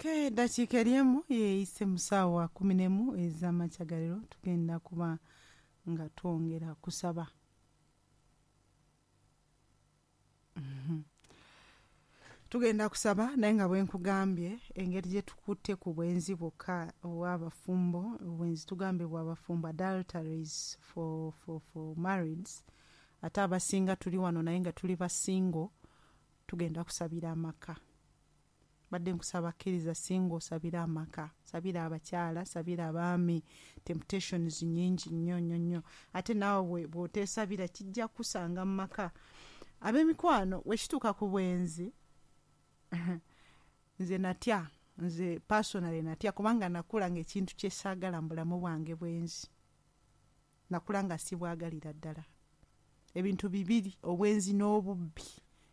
Eddakiika eri 1 yeeyise mu ssaawa 11 ez'amakya ga leero. Tugenda kuba nga twongera kusaba. Tugenda kusaba, naye nga bwe nkugambye, engeri gye tukutte ku bwenzi bwokka obw'abafumbo, obwenzi tugambye bw'abafumbo, adulteries for marrieds, ate abasinga tuli wano naye nga tuli ba single, tugenda kusabira amaka. Badde nkusaba, kkiriza singa osabira amaka, sabira abakyala, sabira abaami. Temptations nyingi nnyo nnyo nnyo, ate naawe bw'oteesabira kijja kusanga mu maka. Ab'emikwano, wekituuka ku bwenzi, nze natya, nze personally natya, kubanga nakula nga ekintu kyesaagala mu bulamu bwange bwenzi. Nakula nga sibwagalira ddala. Ebintu bibiri, obwenzi n'obubbi,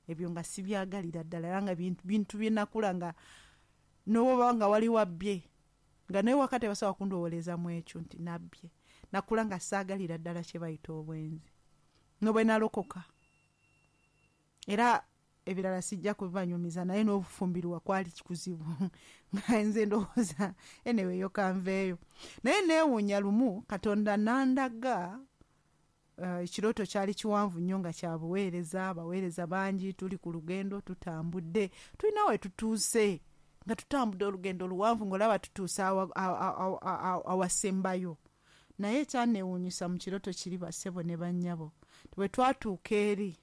ebyo nga sibyagalira ddala, era nga bintu bye nakula nga nowoba nga wali wabbye nga naye waka tebasobola kundowooleza mu ekyo nti nabbye. Nakula nga saagalira ddala kye bayita obwenzi, nobwe nalokoka. Era ebirala sijja kubibanyumiza, naye n'obufumbirwa kwali kuzibu, nga nze ndowooza anyway yo kanveeyo. Naye neewuunya, lumu Katonda nandaga ekirooto kyali kiwanvu nnyo nga kya buweereza, abaweereza bangi, tuli ku lugendo, tutambudde, tulina we tutuuse, nga tutambudde olugendo luwanvu, ng'olaba tutuuse awasembayo. Naye ekyanneewuunyisa mu kirooto kiri, bassebo ne bannyabo, bwe twatuuka eri,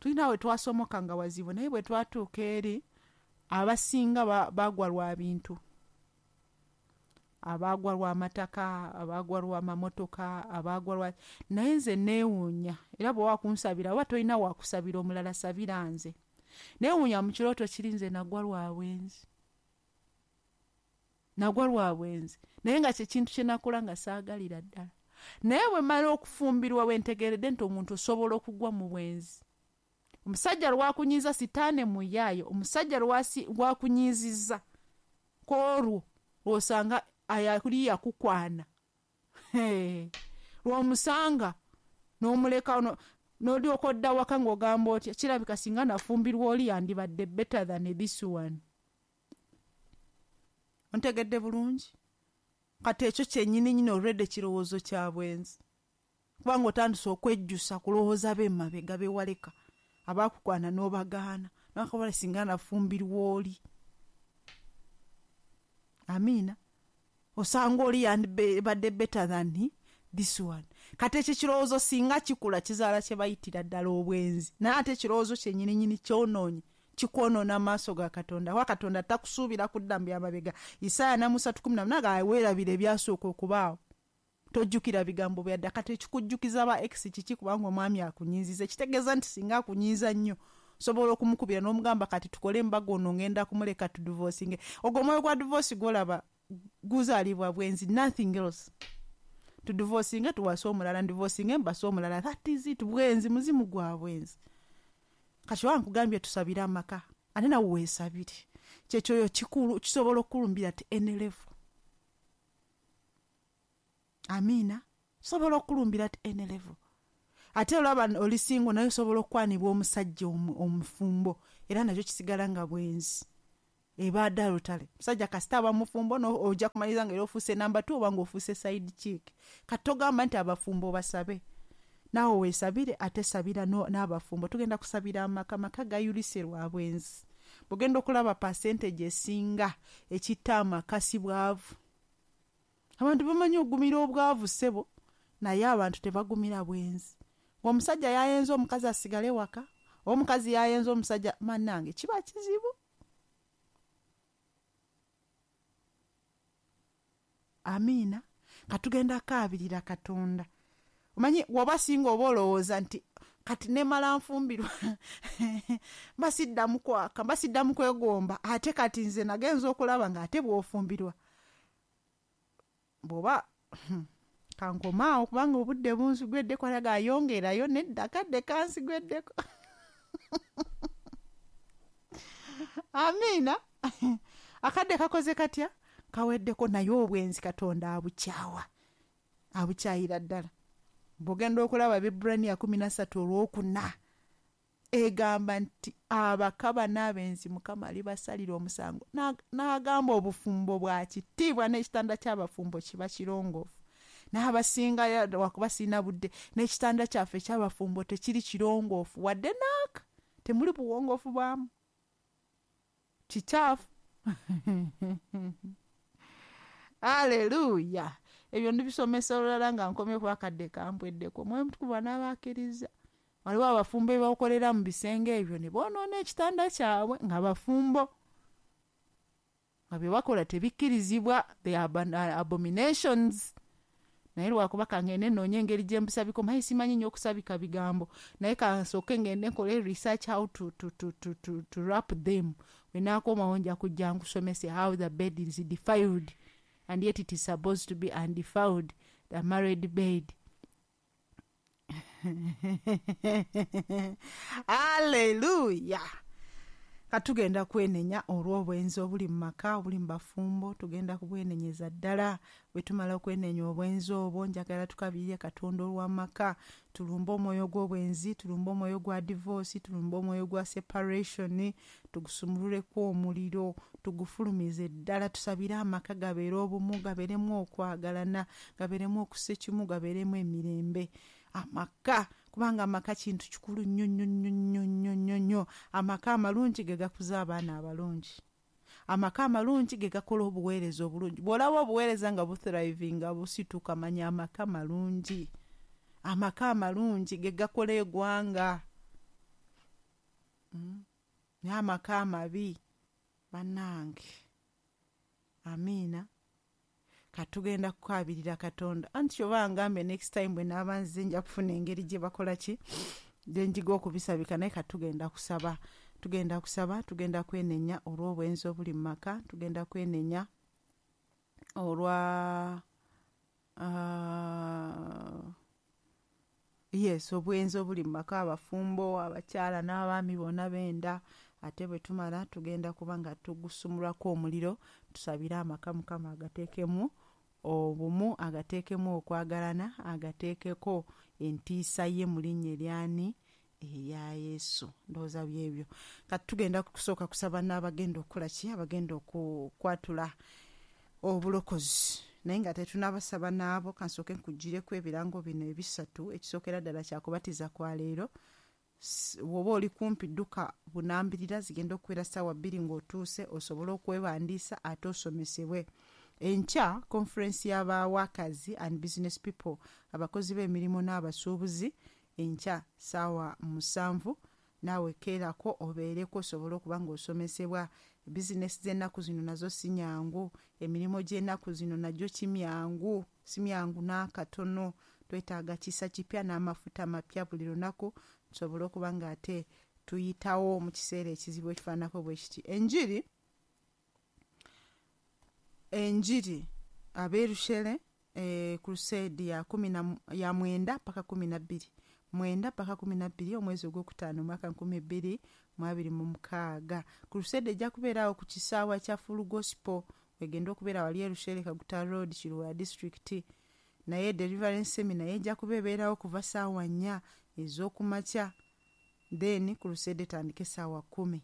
tulina we twasomoka nga wazibu, naye bwe twatuuka eri, abasinga baagwa lwa bintu, abaagwa lw'amataka, abaagwa lw'amamotoka, abaagwa lwa. Naye nze neewuunya, era bwe wakunsabira oba tolina wakusabira omulala, sabira nze. Neewuunya mu kirooto kiri, nze nagwa lwa bwenzi, nagwa lwa bwenzi, naye nga kyekintu kye nakola nga saagalira ddala. Naye bwe mala okufumbirwa, bwe ntegeredde nti omuntu osobola okugwa mu bwenzi. Omusajja lwakunyiiza, sitaane muyaayo, omusajja lwakunyiizizza kwolwo lwosanga ayali yakukwana, lwomusanga n'omuleka n'olyoka odda waka ng'ogamba otya, kirabika singa nafumbirwa oli yandibadde better than this one. Ontegedde bulungi? Kati ekyo kyennyini nyini olwedde kirowoozo kya bwenzi, kubanga otandise okwejjusa kulowooza b'emabega bewaleka abakukwana n'obagaana, nakabala singa nafumbirwa oli. Amiina. Osanga oli yandibadde better than this one. Kati ekyo kirowoozo singa kikula, kizaala kye bayitira ddala obwenzi. Naye ate ekirowoozo kyennyininyini kyonoonye, kikwonoona amaaso ga Katonda, wa Katonda takusuubira kudda mu byamabega. Isaaya 43:18 weerabira ebyasooka okubaawo, tojjukira bigambo byadda. Kati ekikujjukiza ba ex kiki? Kubanga omwami akunyiiziza, ekitegeeza nti singa akunyiiza nnyo, osobola okumukubira n'omugamba, kati tukole embaga, ono ngenda kumuleka, tudivosinge. Ogwo omwoyo gwa divorce gwolaba guzaalibwa bwenzi, nothing else. Tudivosinge tuwase omulala, ndivosinge mbase omulala, that is it. Bwenzi, muzimu gwa bwenzi. Kati oba nkugambye tusabire amaka, ate nawe weesabire. Kyekyoyo kikulu, kisobola okukulumbira at any level. Amiina. Kisobola okukulumbira at any level. Ate olaba oli single, naye osobola okukwanibwa omusajja omufumbo, era nakyo kisigala nga bwenzi, eba adultery. Musajja kasita aba mufumbo, ojja kumaliriza nga era ofuuse number two oba nga ofuuse side chick. Kati togamba nti abafumbo basabe, naawe weesabire, ate sabira n'abafumbo. Tugenda kusabira amaka. Maka gayulise lwa bwenzi. Bwogenda okulaba percentage esinga ekitta amaka si bwavu. Abantu bamanyi ogumira obwavu, ssebo, naye abantu tebagumira bwenzi. Ng'omusajja yayenza omukazi asigale waka, oba omukazi yayenza omusajja, mannange kiba kizibu. Amiina. Katugenda kaabirira Katonda. Omanyi woba singa oba olowooza nti kati nemala nfumbirwa mbasiddamu kwaka, mbasiddamu kwegomba, ate kati nze nagenza okulaba ng'ate bw'ofumbirwa bw'oba kankomaawo, kubanga obudde bunzigweddeko. Alaga ayongerayo nedda, kadde kansigweddeko. Amiina. Akadde kakoze katya? Kaweddeko. Naye obwenzi Katonda abukyawa, abukyayira ddala. Bw'ogenda okulaba Abebbulaniya 13 olwokuna. Egamba nti abakaba n'abenzi Mukama alibasalira omusango. N'agamba obufumbo bwa kitiibwa n'ekitanda ky'abafumbo kiba kirongoofu. N'abasinga wakuba sirina budde, n'ekitanda kyaffe eky'abafumbo tekiri kirongoofu wadde naaka, temuli buwongoofu bwamu, kikyafu. Aleluya. Ebyo ndibisomesa olulala nga nkomye kuba akadde kampweddeko. Omwoyo Omutukuvu anaabakkiriza. Waliwo abafumbo ebakolera mu bisenge ebyo ne boonoona ekitanda kyabwe nga bafumbo, nga bye bakola tebikkirizibwa, they are abominations. Naye lwakuba kangende nnoonye engeri gye mbisabika, omanyi simanyi nnyo okusabika bigambo, naye kansooke ngende nkole research how to wrap them. Bwe naakomawo nja kujja nkusomese how the bed is defiled and yet it is supposed to be undefiled, the married bed. Hallelujah. Katugenda kwenenya olw'obwenzi obuli mu maka, obuli mu bafumbo, tugenda kubwenenyeza ddala. Bwe tumala okwenenya obwenzi obwo, njagala tukabirire Katonda olw'amaka, tulumbe omwoyo gw'obwenzi, tulumbe omwoyo gwa divorce, tulumbe omwoyo gwa separation, tugusumululeko omuliro, tugufulumize ddala, tusabire amaka gabeere obumu, gabeeremu okwagalana, gabeeremu okussa ekimu, gabeeremu emirembe. Amaka, kubanga amaka kintu kikulu nnyo nnyo nnyo nnyo nnyo nnyo nnyo. Amaka amalungi ge gakuza abaana abalungi. Amaka amalungi ge gakola obuweereza obulungi. Bw'olaba obuweereza nga buthrivinga, busituka, manya amaka malungi. Amaka amalungi ge gakola eggwanga. Naye amaka amabi, bannange. Amiina. Katugenda kukabirira Katonda. Anti oba ngambe next time bwe naaba nzize nja kufuna engeri gye bakola ki, gye njiga okubisabika, naye katugenda kusaba. Tugenda kusaba, tugenda kwenenya olw'obwenzi obuli mu maka, tugenda kwenenya olwa yes, obwenzi obuli mu maka, abafumbo, abakyala n'abaami bonna benda. Ate bwe tumala tugenda kuba nga tugusumulwako omuliro, tusabire amaka Mukama agateekemu obumu, agateekemu okwagalana, agateekeko entiisa ye mu linnya eryani, erya Yesu. Ndowooza byebyo. Kati tugenda kusooka kusaba n'abagenda okukola ki, abagenda okukwatula obulokozi. Naye nga tetunnabasaba n'abo, kansooke nkugireko ebirango bino ebisatu. Ekisookera ddala kyakubatiza kwa leero. Bw'oba oli kumpi dduka bunambirira, zigenda okubeera ssaawa 2 ng'otuuse, osobole okwewandiisa ate osomesebwe. Enkya conference y'aba workers and business people, abakozi b'emirimu n'abasuubuzi, enkya ssaawa 7, naawe keerako obeereko osobole okuba ng'osomesebwa. Bizinesi z'ennaku zino nazo si nyangu, emirimu gy'ennaku zino nagyo kimyangu, si myangu n'akatono. Twetaaga kisa kipya n'amafuta mapya buli lunaku, tusobole okuba ng'ate tuyitawo mu kiseera ekizibu ekifaananako bwe kiti. Enjiri ab'e Crusade ya 9 paka 12, 9 paka 12 omwezi ogwokutaano omwaka 2026. Crusade ejja kubeerawo ku kisaawe kya Full Gospel, egenda okubeera wali e Rushere, Kaguta Road, Kiruhura District. Naye Deliverance Seminar ejja kuba ebeerawo kuva ssaawa 4 ez'okumakya, then Crusade etandike ssaawa 10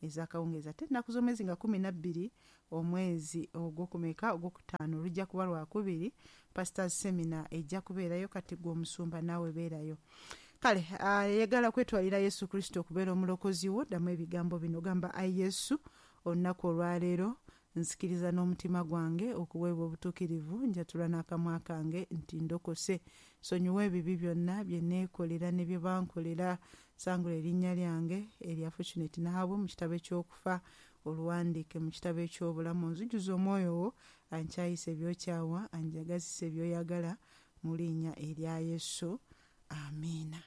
ez'akawungeezi. Ate ennaku z'omwezi nga 12 omwezi ogwokumeka ogwokutaano lujja kuba lwakubiri, Pastors Seminar ejja kubeerayo. Kati gwe omusumba naawe beerayo. Kale ayagala kwetwalira Yesu Kristo okubeera omulokozi wo, ddamu ebigambo bino, gamba: Ayi Yesu, olunaku olwaleero nzikiriza n'omutima gwange okuweebwa obutuukirivu, njatula n'akamwa kange nti ndokose. Sonyiwa ebibi byonna bye neekolera ne bye bankolera, sangula erinnya lyange erya Fortunate Nahabwe mu kitabo eky'okufa, oluwandiike mu kitabo eky'obulamu. Nzijuza omwoyo wo, ankyayisa ebyokyawa, anjagazisa ebyoyagala, mu linnya erya Yesu. Amiina.